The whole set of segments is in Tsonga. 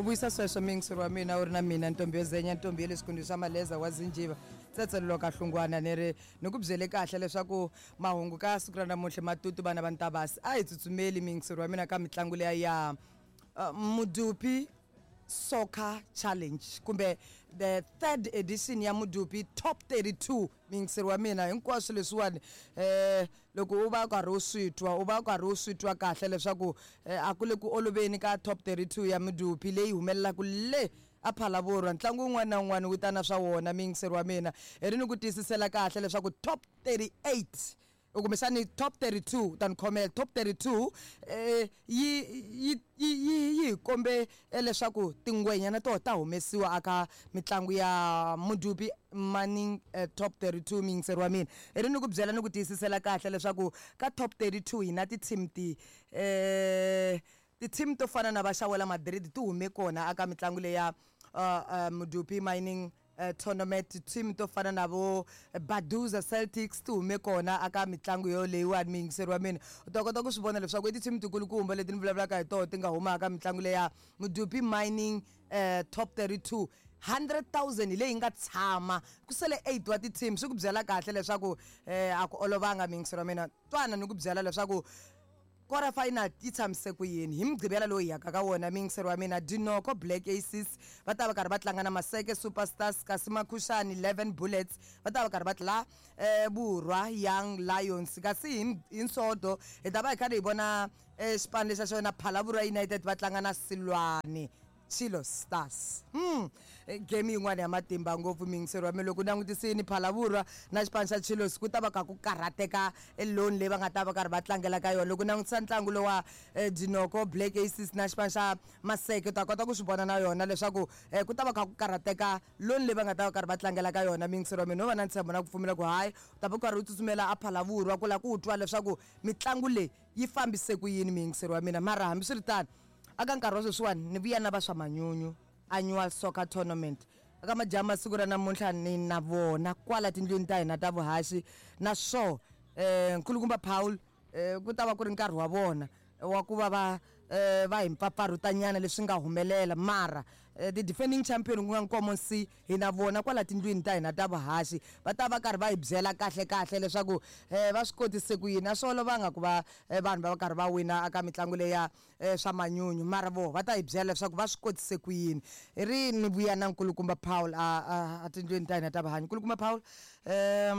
U vuyisa sweswo muyingiseri wa mina u ri na mina ntombi yo zenya ntombi ya le xikundzu xa maleza wa zinjiva tsetselelo ka hlungwana ni ri ni ku byele kahle leswaku mahungu ka siku ra namuntlha matutu vana va ntabasi a hi tsutsumeli muyingiseri wa mina ka mitlangu leya ya Mudupi Soccer Challenge kumbe the third edition ya Mudupi Top 32 muyingiseri wa mina hinkwaswo leswiwani um loko u va u karhi u swi twa u va u karhi u swi twa kahle leswaku a ku le ku oloveni ka Top 32 ya Mudupi leyi humelelaka le a Phalaborwa ntlangu wun'wana na wun'wana wu ta na swa wona muyingiseri wa mina hi ri ni ku tiyisisela kahle leswaku Top 38 kumbexani top 32 ta ni khomela top 32 eh, yi yi yi yi yi hi kombe eh, leswaku tingwenya na toho ta humesiwa aka mitlangu ya Mudupi Mining eh, top 32 muyingiseri wa mina i ri ni ku byela ni ku tiyisisela kahle leswaku ka top 32 hi na ti-team ti eh ti-team to fana na va Xawela Madrid ti hume kona aka mitlangu leya Mudupi Mining Tournament team to fana na vo Baduza Celtics ti hume kona aka mitlangu yoleyiwani muyingiseri wa mina u ta kota ku swi vona leswaku i ti-team tikulukumba leti ni vulavulaka hi toho ti nga huma aka mitlangu leya Mudupi Mining Top 32 100,000 hi leyi nga tshama ku sele 8 wa ti-team swi ku byela kahle leswaku a ku olovanga muyingiseri wa mina twana ni ku byela leswaku Quarter final yi tshamise ku yini? Hi Mugqivela lowu hi yaka ka wona, muyingiseri wa mina, Dinoko Black Aces va ta va karhi va tlanga na Maseke Super Stars kasi Makhushani 11 Bullets va ta va karhi va tla Vurwa Young Lions. Kasi hi hi Nsodo hi ta va hi karhi hi vona xipano lexa xa yona Phalaborwa United va tlanga na Silwane. Chilo Stars. Game yin'wana ya matimba ngopfu muyingiseri wa mina loko u langutisini Phalavurwa na xipano xa Chilos ku ta va kha ku karhateka loan leyi va nga ta va karhi va tlangela ka yona loko u langutisa ntlangu lowa Dinoko Black Aces na xipano xa Maseke u ta kota ku swi vona na yona leswaku ku ta va kha ku karhateka loan leyi va nga ta va karhi va tlangela ka yona muyingiseri wa mina no va na ntshembo na ku pfumela ku hayi u ta va u karhi u tsutsumela a Phalavurwa ku la ku twa leswaku mitlangu leyi yi fambise ku yini muyingiseri wa mina mara hambiswiritano Aka nkarhi wa sweswiwani ni vuya na va swa manyunyu Annual Soccer Tournament aka majaha ma siku ra namuntlha ni na vona kwala tindlwini ta hina ta vuhaxi na swo Nkulukumba Paul ku ta va ku ri nkarhi wa vona wa ku va va va hi mpfapfarhuta nyana leswi nga humelela mara ti defending champion ku nga Nkomo C hi na vona kwala tindlwini ta hina ta vuhaxi va ta va karhi va hi byela kahle kahle leswaku va swi kotise ku yini a swi olovanga ku va vanhu va va karhi va wina aka mitlangu leya swa manyunyu mara voho va ta hi byela leswaku va swi kotise ku yini hi ri ni vuya na nkulukumba Paul a a a tindlwini ta hina ta vuhanyi nkulukumba Paul ha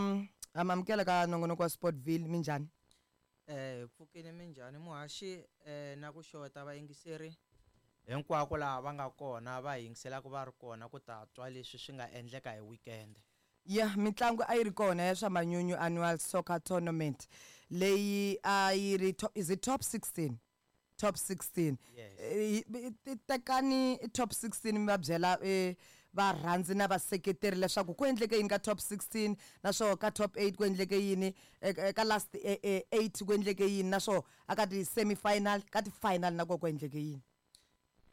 mi amukela ka nongonoko wa Sportville minjhani Hi pfukile minjhani muhaxi na ku xeweta vayingiseri hinkwako laha va nga kona va hi yingiselaka va ri kona ku ta twa leswi swi nga endleka hi weekend. Ya mitlangu a yi ri kona ya swa manyunyu Annual Soccer Tournament leyi a yi ri is it top 16 top 16 Yes. Tekani top 16 mi va byela varhandzi na vaseketeri leswaku ku endleke yini ka top 16 naswona ka top 8 ku endleke yini ka last 8 ku endleke yini naswona aka ti semi final ka ti final na kona ku endleke yini.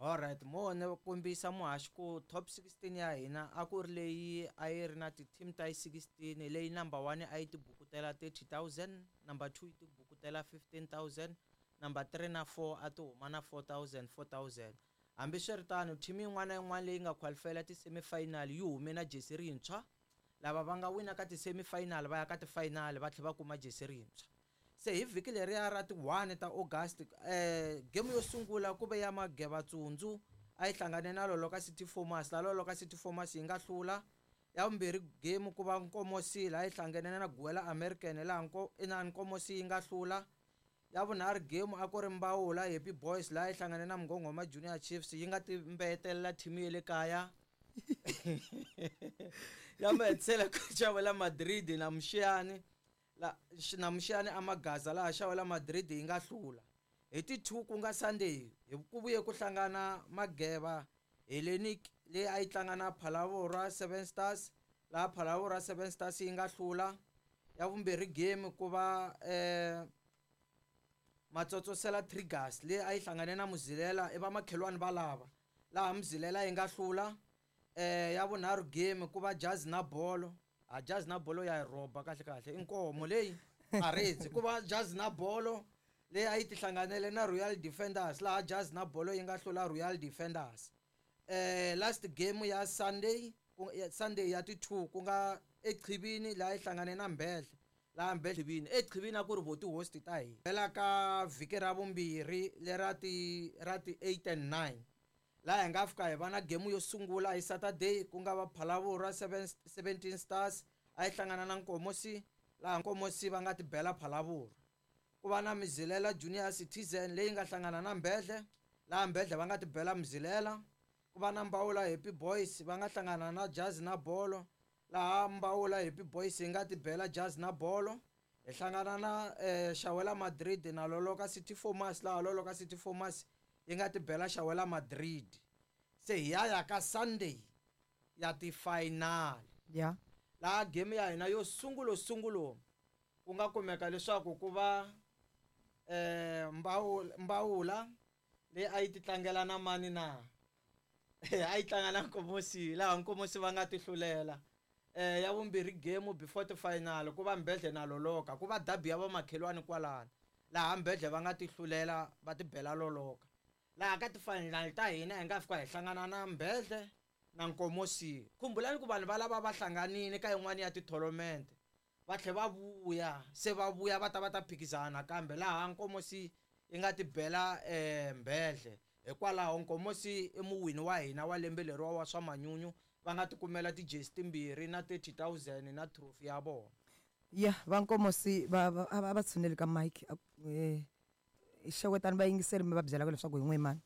Alright mo ni kombisa muhaxi ku top 16 ya hina a ku ri leyi a yi ri na ti-team ta yi 16 leyi number 1 a yi tibukutela 30,000 number 2 yi tibukutela 15,000 number 3 na 4 a ti huma na 4,000 4,000 hambiswiritano team yin'wana na yin'wana leyi nga qualifyela ti-semi final yi hume na jesi rintshwa lava va nga wina ka ti-semi final va ya ka ti-final va tlhela va kuma jesi rintshwa Se hi vhiki leriya ra ti 1 ta August, game yo sungula ku ve ya Mageva Tsundzu a yi hlangane na Loloka City Formers, laha Loloka City Formers yi nga hlula. Ya vumbirhi game ku va Nkomosi laha yi hlangene na Guwela American laha inani Nkomosi yi nga hlula. Ya vunharhu game a ku ri Mbawula Happy Boys laha yi hlangane na Mngonghoma Junior Chiefs yi nga ti mbeyetelela team ya le kaya. Ya mahetisela ku xavela Madrid na Muxiyani. La, na Muxiyani a Magaza laha Xawela Madrid yi nga hlula. Hi ti 2 ku nga Sunday, hi ku vuye ku hlangana Mageva Hellenic leyi a yi tlanga na Phalaborwa Seven Stars laha Phalaborwa Seven Stars yi nga hlula. Ya vumbirhi game ku va Matsotsosela Triggers leyi a yi hlangane na Muzilela i vamakhelwani va lava laha Muzilela yi nga hlula. Ya vunharhu game ku va Jazi na Bolo a jazi na bolo ya yi rhoba kahle kahle i nkomo leyi a redzi ku va jazi na bolo leyi a yi tihlanganele na Royal Defenders laha jazi na bolo yi nga hlula Royal Defenders. Last game ya Sunday, ya Sunday ya ti 2 ku nga eQhivini laha yi hlangane na Mbedle, laha Mbedle Qhivini eQhivini a ku ri vo ti-host ta hina. Hela ka vhiki ra vumbirhi lera ti ra ti 8 and 9 laha hi nga fika hi va na game yo sungula hi Saturday ku nga va Phalaborwa 17 Stars a yi hlangana na Nkomosi, laha Nkomosi va nga ti bela Phalaborwa. Ku va na Mzilela Junior Citizen leyi nga hlangana na Mbedle, laha Mbedle va nga ti bela Mzilela. Ku va na Mbawula Happy Boys va nga hlangana na Jazz na Bolo, laha Mbawula Happy Boys yi nga ti bela Jazz na Bolo. Hi hlangana na Xawela Madrid na Loloka City Formas, laha Loloka City Formas yi nga ti bela Xawela Madrid. Se hi ya ya ka Sunday ya ti-final. Laha game ya hina yo sungulo sungulo ku nga kumeka leswaku ku va Mbawula leyi a yi ti tlangela na mani na a yi tlanga na Nkomosi, laha Nkomosi va nga ti hlulela. Ya vumbirhi game before ti final ku va Mbedle na Loloka, ku va derby ya vamakhelwani kwalano, laha Mbedle va nga ti hlulela va ti bela Loloka. Laha ka ti final ta hina hi nga fika hi hlangana na Mbedle na Nkomosi. Khumbulani ku vanhu va lava va hlanganile ka yin'wani ya ti-tournament, va tlhe va vuya, se va vuya va ta va ta phikizana nakambe, laha Nkomosi yi nga ti bela Mbedle. Hikwalaho Nkomosi i muwini wa hina wa lembe leriwa wa swa manyunyu, va nga ti kumela ti-jersey timbirhi na 30,000 na trophy ya vona. Ya, va Nkomosi va a va tshuneli ka mic. Xewetani vayingiseri mi va byelaka leswaku hi n'we mani.